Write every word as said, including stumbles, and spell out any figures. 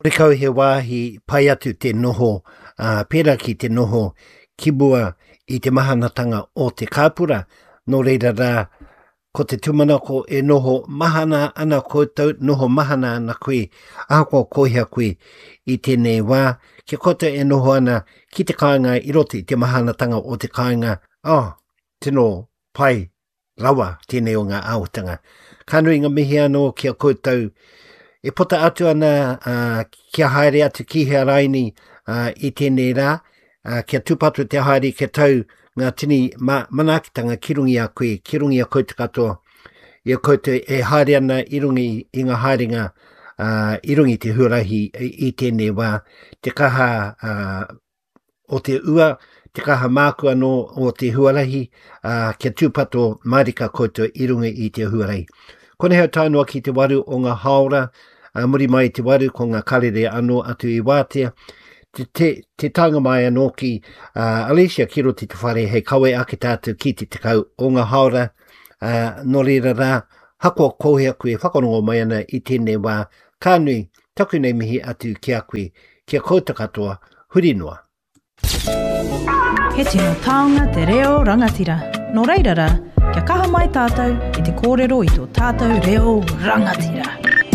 Horekau he wāhi pai atu te noho, ā, pērā ki te noho ki mua i te mahanatanga o te kāpura. Nō reira rā, ko te tūmanako e noho mahana ana koutou, noho mahana ana koe, ahakoa ko hea koe i tēnei wā, kia koutou e noho ana ki te kāinga i roto i te mahanatanga o te kāinga, oh, tino pai rawa tēnei o ngā āhuatanga. Ka nui ngā mihi anō ki a koutou e puta atu ana uh, kia haere atu ki hea raini uh, i tēnei rā, uh, kia tūpato te haere kia tau ngā tini ma manaakitanga ki runga i a koe, ki runga i a koutou katoa. I a koutou e haere ana i runga i ngā haerenga uh, i runga i te huarahi i, i tēnei wā, te kaha uh, o te ua, te kaha māku anō o te huarahi, ā, kia tūpato mārika koutou i runga i te huarahi. Konei hau tae noa ki te waru o ngā hāora, ā, muri mai i te waru ko ngā karere anō atu i wātea, te, te, te taenga mai anō ki uh, Alicia ki roto i te whare hei kawe ake tātou ki te tekau o ngā hāora, ā, nō reira rā, hakoa ko hea koe e whakarongo mai ana i tēnei wā, ka nui taku nei mihi atu ki a koe, ki a koutou katoa, huri noa. He tino taonga te reo rangatira. Nō reira rā, kia kaha mai tātou ki te kōrero i tō tātou reo rangatira.